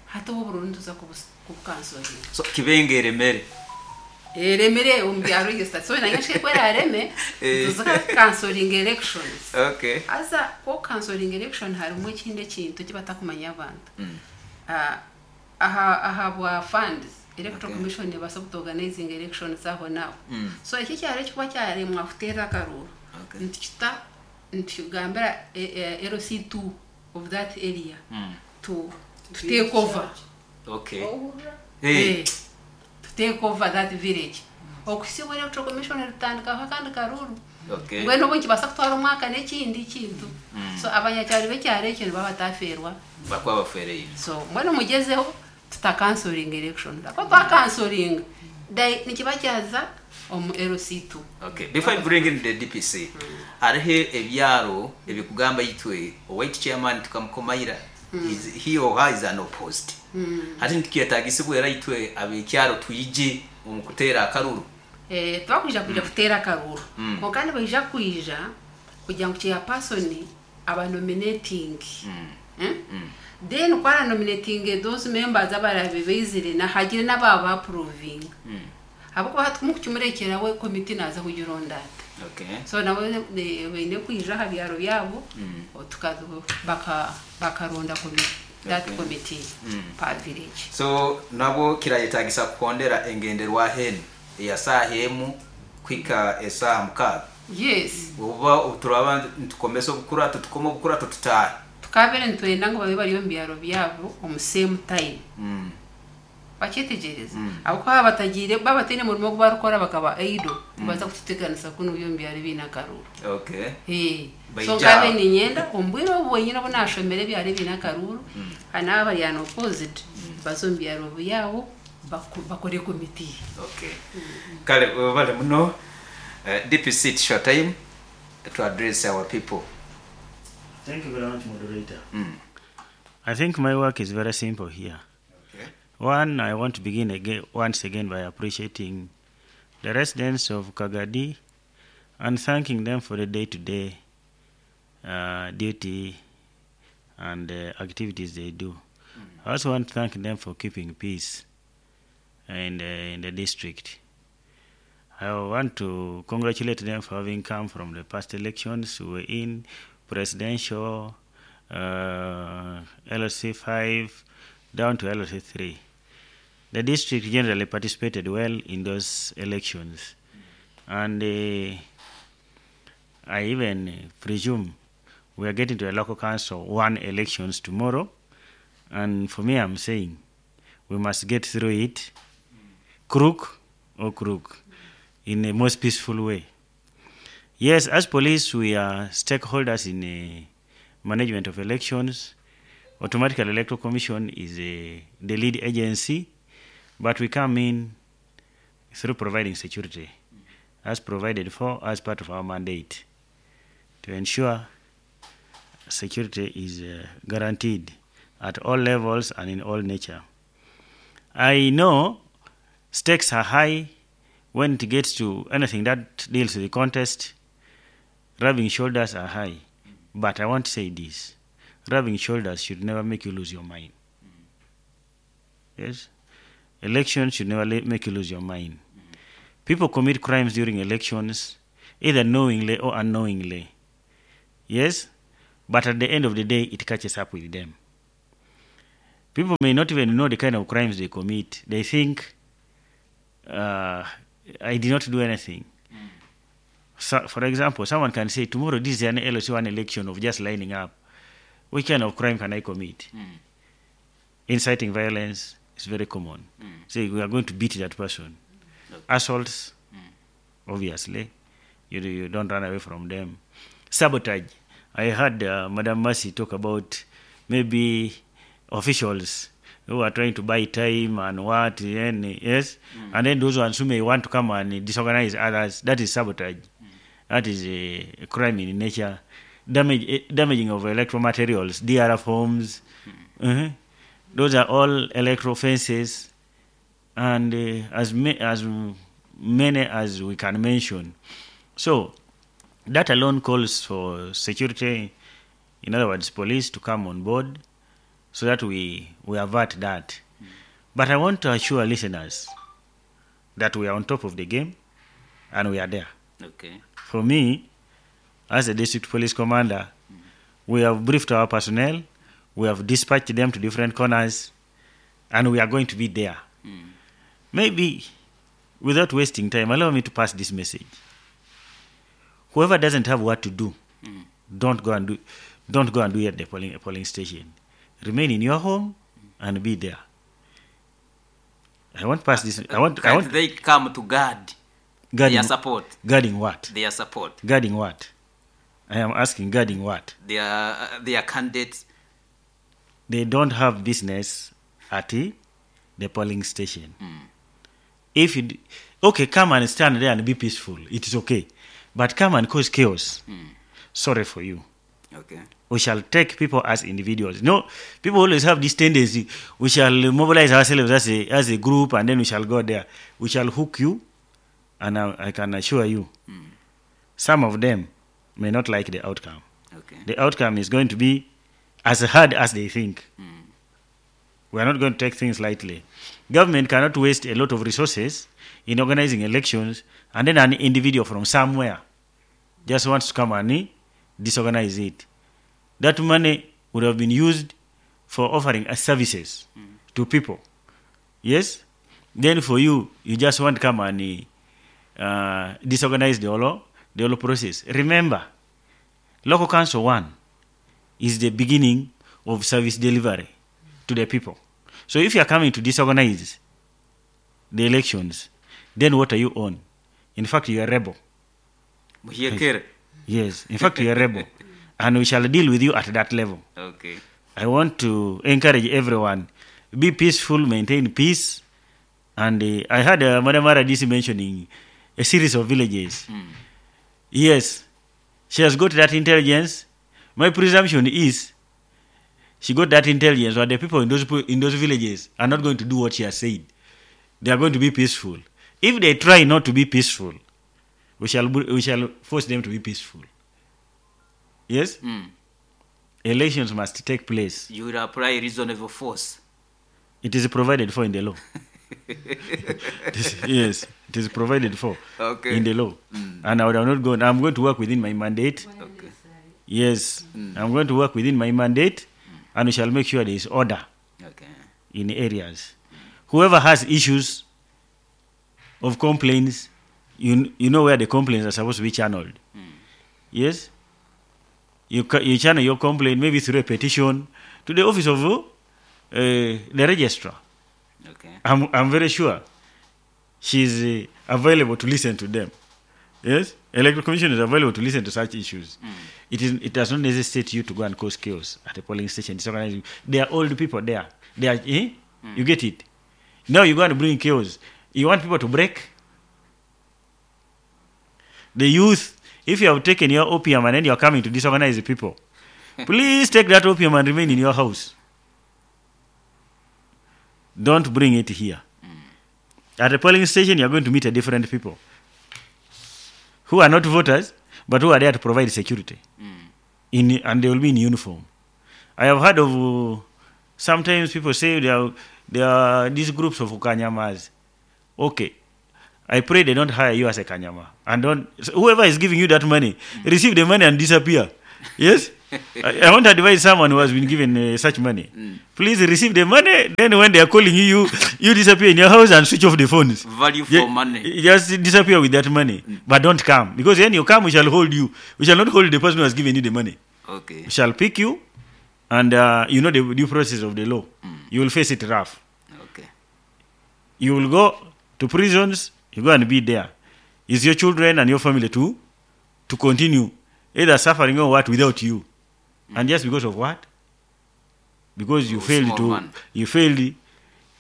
Hati obu obururu nituza kubukansoringa. So Kibengo eremere. Eremire omu bya register. So na nyenkyakare ku eraareme, nituza kukansoringa elections. Okay. Haza ku okukansoringa election harimu ekindi ekintu eki batakumanya abantu. Aha ahabwa funds, Electoral Commission nebaasa kutu organizinga elections aho n'aho. So eki ekyaro ekikuba kyaremwa kuteera akaruuru, nitukita nitukigambira LC2 of that area to take over. Okay. Eh, to take over that village. Okuhitsya obu Electoral Commission eritandikaho akandi karuuru. Okay. Mbwenu obu nikibaasa kutwara omwaka n'ekindi kintu. So abanyakyaro b'ekyaro ekyo nibaba bataafeerwa. Bakuba bafeereire. So mbwenu mugyezeho tutakansoringa election. Ahakuba twakansoringa, nikiba kyaza omu LC2. Okay. Before I bring in the DPC, hariho ebyaro ebikugamba itwe owaitu chairman tukamukomaira. He or her is an opposed. Hati nitukiyetagisibwa era itwe ab'ekyaro twije omu kuteera akaruru. Eh, tibakwija kwija kuteera akaruuru. Kwonka nibaija kwija kugira ngu chairperson aba nominating. Then ku aranominatinge those members abaraabe baizire na hagire n'abaaba approvinga. Ahabw'okuba hati kumukukimurekyera we committee naaza kugironda ata? Okay. So nabo baine kwija aha byaro byabo baka bakaronda that committee per village. So nabo kirayetagisa kuhondera engenderwaho enu eya saaha emu kuhika esaaha 6. Yes. Obuba turaba nitukomesa obukurato tukome obukurato tutaahe. Tukabire nitwenda ngu babe bari omu byaro byabo omu same time. Bakyetegyereza? Ahabw'okuba baaba batagiire baaba bataine murimo ogu barikukora bakaba idle, nibaza kututeganisa kunu buri omu byaro ebiine akaruuru. Okay. Eh, so Baija nkabe aho. niinyenda omu bwire obu bwenyine obu naashomera ebyaro ebiine akaruuru, hanu aba abari unopposed baze omu byaro byabo bakore committee. Okay. Kale webale muno. DPC, it's your time to address our people. Thank you very much, moderator. I think my work is very simple here. Okay. One, I want to begin again, once again by appreciating the residents of Kagadi and thanking them for the day-to-day duty and activities they do. I also want to thank them for keeping peace in the district. I want to congratulate them for having come from the past elections. We were in presidential, LC5 down to LC3. The district generally participated well in those elections. And I even presume we are getting to a local council 1 elections tomorrow. And for me, I'm saying we must get through it, crook or crook, in the most peaceful way. Yes, as police, we are stakeholders in the management of elections. Automatically, Electoral Commission is the lead agency, but we come in through providing security, as provided for as part of our mandate, to ensure security is guaranteed at all levels and in all nature. I know stakes are high when it gets to anything that deals with the contest. Rubbing shoulders are high. But I want to say this. Rubbing shoulders should never make you lose your mind. Yes? Elections should never make you lose your mind. People commit crimes during elections, either knowingly or unknowingly. Yes? But at the end of the day, it catches up with them. People may not even know the kind of crimes they commit. They think, I did not do anything. So, for example, someone can say, tomorrow this is an LOC1 election of just lining up. Which kind of crime can I commit? Inciting violence is very common. Say, we are going to beat that person. Assaults, obviously. You don't run away from them. Sabotage. I heard Madam Mercy talk about maybe officials who are trying to buy time and what, and, yes, and then those ones who may want to come and disorganize others, that is sabotage. That is a crime in nature. Damaging of electro materials, DR forms, Those are all electro fences, and as many as we can mention. So that alone calls for security, in other words, police to come on board so that we avert that. But I want to assure listeners that we are on top of the game and we are there. Okay. For me, as a district police commander, we have briefed our personnel, we have dispatched them to different corners, and we are going to be there. Maybe, without wasting time, allow me to pass this message. Whoever doesn't have what to do, don't go and do it at the polling station. Remain in your home and be there. I want pass this. I want. They come to guard their support. Guarding what? Their support. Guarding what? I am asking, guarding what? Their candidates. They don't have business at the polling station. If you come and stand there and be peaceful, it is okay. But come and cause chaos. Sorry for you. Okay. We shall take people as individuals. No, people always have this tendency. We shall mobilize ourselves as a group, and then we shall go there. We shall hook you, and I can assure you, some of them may not like the outcome. Okay. The outcome is going to be as hard as they think. We are not going to take things lightly. Government cannot waste a lot of resources in organizing elections, and then an individual from somewhere just wants to come and disorganize it. That money would have been used for offering services to people. Yes? Then for you, you just want to come and disorganize the whole process. Remember, Local Council 1 is the beginning of service delivery to the people. So if you are coming to disorganize the elections, then what are you on? In fact, you are a rebel. Yes, in fact, you are a rebel. And we shall deal with you at that level. Okay. I want to encourage everyone, be peaceful, maintain peace. And I heard Madam RDC mentioning a series of villages. Yes, she has got that intelligence. My presumption is she got that intelligence, but the people in those villages are not going to do what she has said. They are going to be peaceful. If they try not to be peaceful, we shall force them to be peaceful. Yes? Elections must take place. You will apply reasonable force. It is provided for in the law. Yes, it is provided for in the law. And I would have not gone. I'm going to work within my mandate. Okay. Yes, I'm going to work within my mandate, and we shall make sure there is order in areas. Whoever has issues of complaints, you know where the complaints are supposed to be channeled. Yes? You channel your complaint maybe through a petition to the office of the registrar. Okay. I'm very sure she's available to listen to them. Yes? Electoral Commission is available to listen to such issues. It does not necessitate you to go and cause chaos at the polling station. Disorganizing. There are old people there. They are, You get it? Now you go and bring chaos. You want people to break? The youth, if you have taken your opium and then you are coming to disorganize the people, please take that opium and remain in your house. Don't bring it here. At the polling station, you are going to meet a different people who are not voters, but who are there to provide security. And they will be in uniform. I have heard of sometimes people say there are these groups of Kanyamas. Okay. I pray they don't hire you as a Kanyama. And don't, whoever is giving you that money, receive the money and disappear. Yes? I want to advise someone who has been given such money. Please receive the money Then when they are calling you, you disappear in your house and switch off the phones. Value for money. Just disappear with that money. But don't come. Because when you come, we shall hold you. We shall not hold the person who has given you the money. Okay. We shall pick you, and you know the due process of the law. You will face it rough. Okay. You will go to prisons, you go and be there. It's your children and your family to continue either suffering or what without you. And just because of what? Because you Oh, failed small to man. you failed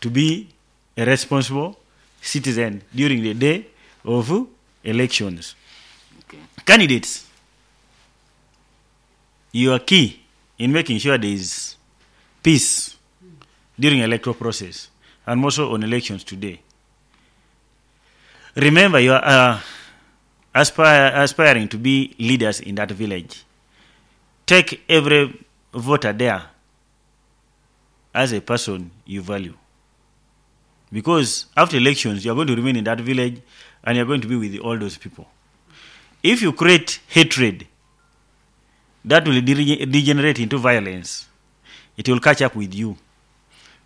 to be a responsible citizen during the day of elections. Okay. Candidates, you are key in making sure there is peace during electoral process and more so on elections today. Remember, you are aspiring to be leaders in that village. Take every voter there as a person you value. Because after elections, you are going to remain in that village and you are going to be with all those people. If you create hatred, that will degenerate into violence. It will catch up with you.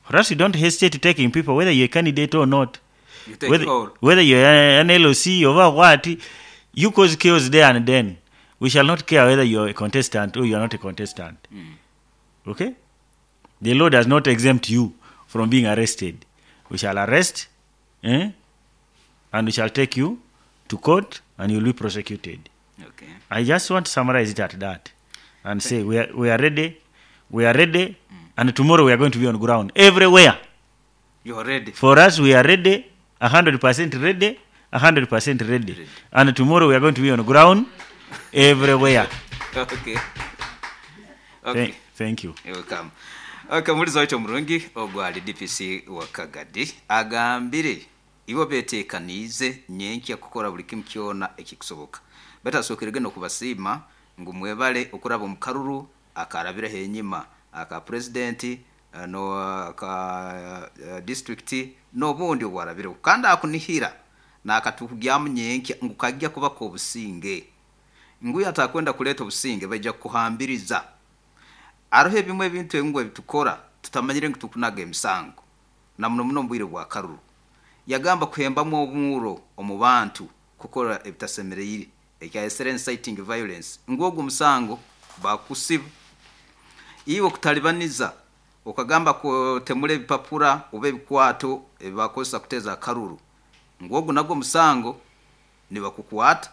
For us, you don't hesitate taking people, whether you're a candidate or not. You take Whether, all. whether you're an LOC or what, you cause chaos there and then. We shall not care whether you're a contestant or you're not a contestant. Okay? The law does not exempt you from being arrested. We shall arrest, and we shall take you to court and you'll be prosecuted. Okay. I just want to summarize it at that and say we are ready, we are ready, and tomorrow we are going to be on ground everywhere. You are ready. For us, we are ready, 100% ready, 100% ready. Ready. And tomorrow we are going to be on ground everywhere. Okay. Okay. Thank you. You're welcome. Okay, mulizi waitu omurungi ogwali DPC wa Kagadi agambire ibo betekaniize nyenkya kukora buli kimu kyona ekikusoboka. Batasokerege n'okubasiima ngu mwebale okuraba omu karuru akarabireho enyima aka president no aka district n'obundi obwarabireho kandi akunihira n'akatukugyamu nyenkya ngu kajja kuba k'obusinge ngu yatakwenda kuleeta obusinge baija kukuhambiriza. Aroho ebimwe ebintu ebimwe ebitukora tutamanyire ngu tukunaga emisango na muno muno omu bwire bwa karuru. Yagamba kuhembamu omuro omu bantu kukora ebitasemereire ekyayesere inciting violence ngu ogwo omusango bakusiba. Iwe okutalibaniza okagamba kutemura ebipapura oba ebikwato ebibakozesa kuteeza akaruru ngu ogwo nagwo omusango nibakukwata.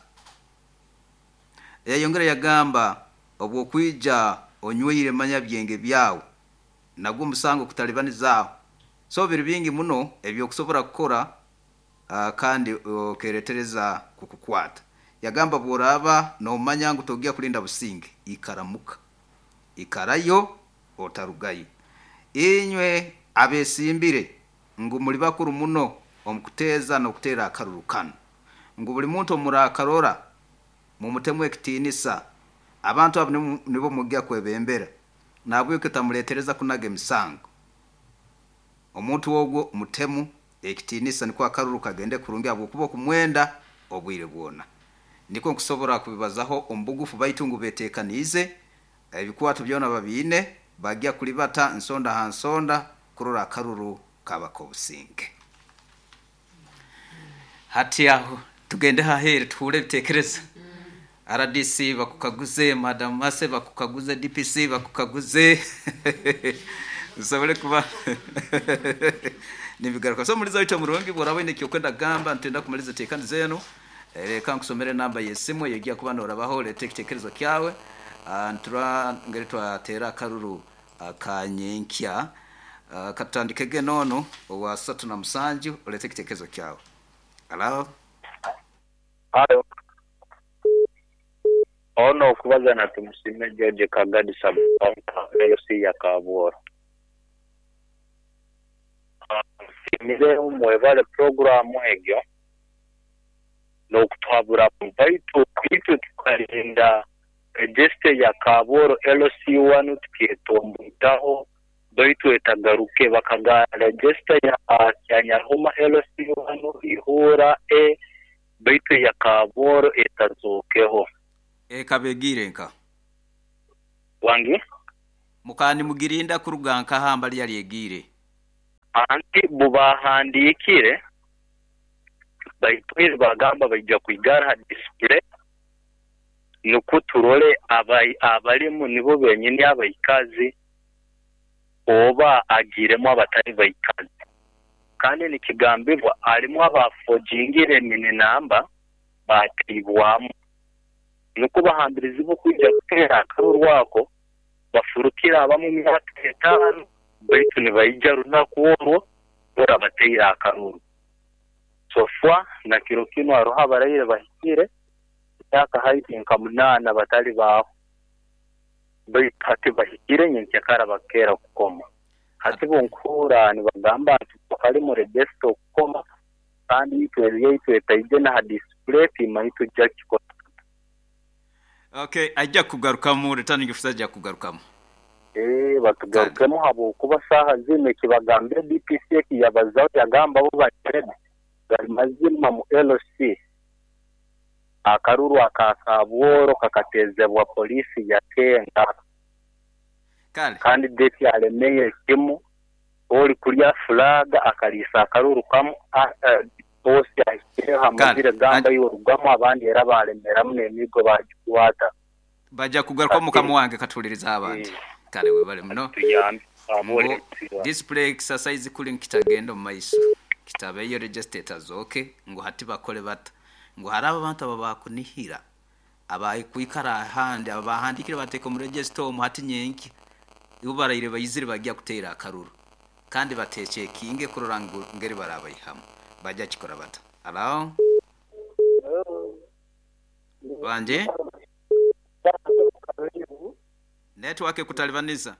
Yayongera yagamba obwokwija onywire manya byenge byawe nagwo omusango kutalibanizaho. So biri bingi muno ebyokusobora kukora kandi okeretereza kukukwata. Yagamba bworaba nomanya ngu togiya kulinda businge ikaramuka ikarayo otarugayo. Inywe abesimbire ngu muri bakuru muno omukuteeza n'okuteera akaruru kano ngu buli muntu omurakarora mumutemu ekitiinisa abantu abo nibo mujja kwebembera nabweke tamuletereza kunaga emisango. Omuntu ogwo mutemu ekitiinisa nikwo akaruru kagende kurungi ahabwokuba okumwenda obwire bwona. Niko nkusobora kubibazaho omubugufu baitu ngu betekaniize ebikwato byona babiine bajja kulibata nsonda ha nsonda kurora akaruru kabaka obusinge. Hati aho tugende hahere tuhure ebitekerezo. RDC bakukaguze, Madam Mase bakukaguze, DPC bakukaguze. Usobole kuba nibigaruka. So muliza wito murungi bworaba ine kyokwenda gamba ntenda kumaliza tekani zenu. Reka nkusomere namba y'esimu yegiya kuba norabaho leta ekitekerezo kyawe. Ntura ngeri twatera akaruru akanyenkya. Katandikege nono owa 37 olete ekitekerezo kyawe. Hello. Hello. Ono okubaza na Tumusime George Kagadi sub-county LC ya Kabworo. Nsimire mwebale programu egyo n'okutwabura baitu itwe tukarinda register ya Kabworo LC1 tukietombuitaho baitu etagaruke bakaga register ya Nyarhuma LC1 ihura e baitu ya Kabworo etazokeho. Ekabegire nka wangi mukani mugirinda kuruga nka hamba lyali egire Anti bo baahandiikire baitwire baagamba baija kwigara ha display nikwo turole abarimu nibo benyini abaikazi oba agiiremu abatari baikazi. Kandi nikigambibwa harimu abaafojingire emini namba baataibwamu. Nikwo bahambirizibwe okwija kuteera akaruru ako bafurukire abamu emyaka etaano baitu nibaija runaku orwo orabateire akaruru. Sofwa na kiro kinu hariho abaraire bahikire emyaka haihi nka munaana batari baaho baitu hati bahikire nyenkyakara bakeera kukoma. Hati bunkuhurra nibagamba nti kari mu register okukoma kandi itwe ebyaitu etaije na ha display timanyi tujja kukikora tuta. Okay, aija kugarukamu returning officer aija kugarukamu. Eeh batugarukemu habwokuba saaha zinu ekibagambire DPC ekiyabazaho yagamba bo bari ready gari mazima mu LC akaruru aka Kabworo kakatezebwa poliisi yakenga. Kale. Kandi date aremeire kimu ori kurya flag akariisa akaruru kamu boss ahikireho amazire gamba iwe rugamu abandi era baremeramu nemiigo bagikwata. Baja kugarukamu mukama wange katuhulirize abandi. Kale webale muno. Tuyambe Ngu display exercise kuri nikitagenda omu maiso kitabeyo register etazooke ngu hati bakore bata ngu hariho abantu ababakunihira abakwikara ahandi ababahandikire bateeka omu register omu hati nyenkya ibo baraire baizire bagya kuteera akaruru kandi batechekinge kurora ngu ngeri barabaihamu bagya kikora bata. Hello? Wangi? Network ekutalibaniza.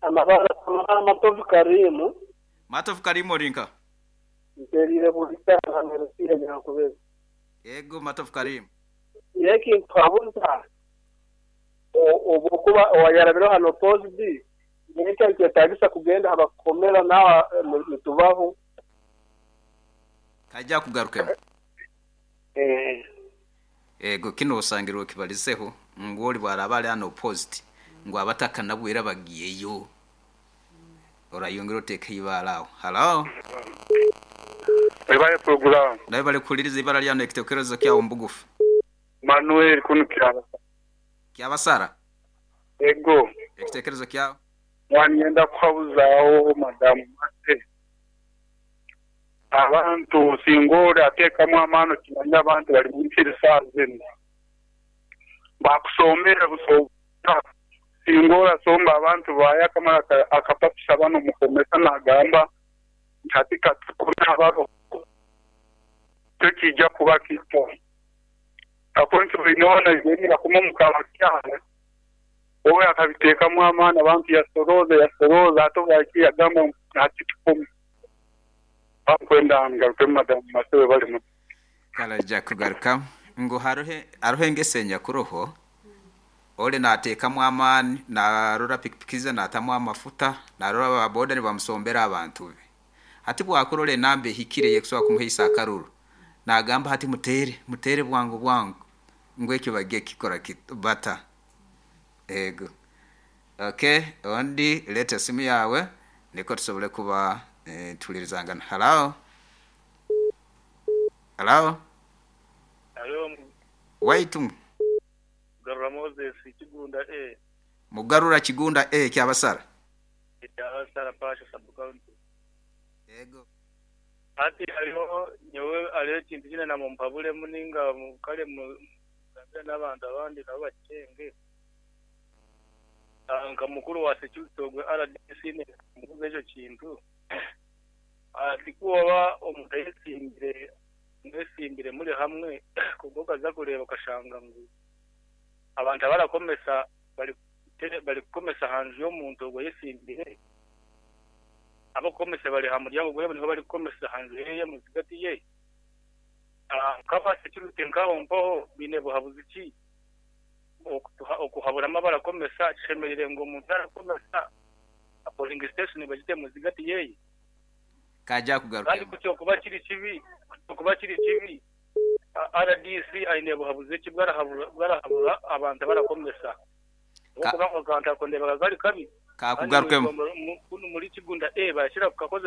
Amabara amabara Matovu Karimu. Matovu Karimu ori nka? Ntereire buri saaha nka Nyankubezi. Ego Matovu Karimu. Eki nkuhabuza obwokuba owayarabireho hano opposed nyenka nikyetagisa kugenda habakukomera nawe nitubaho. Kaija akugarukemu. Ego kinu osangire okibalizeho ngu ori bwaraba ari unopposed ngu abatakanabwo era bagiyeyo. Orayongera oteeke eibaare aho. Hallo? Webale pulogulaamu. Nawe kuhuliriza eibara ryawe n'ekitekerezo kyawe omu bugufu. Manuel kunu Kyabasara. Kyabasara? Ego. Ekitekerezo kyawe? Mwanyenda kuhabuzaaho Madamu Mate. Abantu singa ori ateekamu amaani okimanya abantu bari mu misiri saaha zinu. Bakusomere busa singa orasomba abantu baayo akamara akapapisa banu omukomesa nagamba nti hati katukome abaroho tekija kuba kita. Akonki oine hoona bakoma omu kabakyara owe akabiteekamu amaani abantu yasorooza yasorooza ate obwakyo yagamba ngu hati tukome. Bakwenda ngarukemu Madamu Mase webale muno. Kale aija kugarukamu ngu hariho engeso enyakuroho ori nateekamu amaani narora pikipiki ze natamu amafuta narora aba boda nibamusombera abantu be. Hati bwakurora enamba ehikire ey'ekusobora kumuhaisa akaruru nagamba hati muteere muteere bwangu bwangu ngu ekyo bagiye kukikora bata. Ego. Okay, ondi leeta esimu yaawe nikwo tusobole kuba nituhulirizangana. Hallo? Hallo? Halo. Waitu. Mugarura Moses Kigunda A. Mugarura Kigunda A Kyabasara. Kyabasara Pasha sub county. Ego. Hati hariho nyowe hariho ekintu kyine namumpabulemu ninga kare mugambire n'abantu abandi nabo bakyenge. Nka mukuru wa security ogwe RDC mubuze ekyo kintu. Ati ku oba omuntu ayesimbire mwesimbire muri hamwe kubwo okaza kureeba okashanga ngu abantu abarakomesa bari kukomesa aha nju y'omuntu ogwo ayesimbire abakukomesa bari aha muryango gwe niho bari kukomesa aha nju yeye muzigati ye. Nk'aba security nkaho mpaho biine buhabuzi ki okuhaburamu abarakomesa kishemereire ngu omuntu arakomesa polling station bagite muzigati yeye. Kaija kugaruka. Kandi kukyokuba kiri kibi, kuba kiri kibi RDC aine buhabuzi ki bwarahabura abantu barakomesa. Okuba ngu akantu ako ndeeba kari kabi. Kakugarukemu. Muri Kigunda A bakira kukakoza.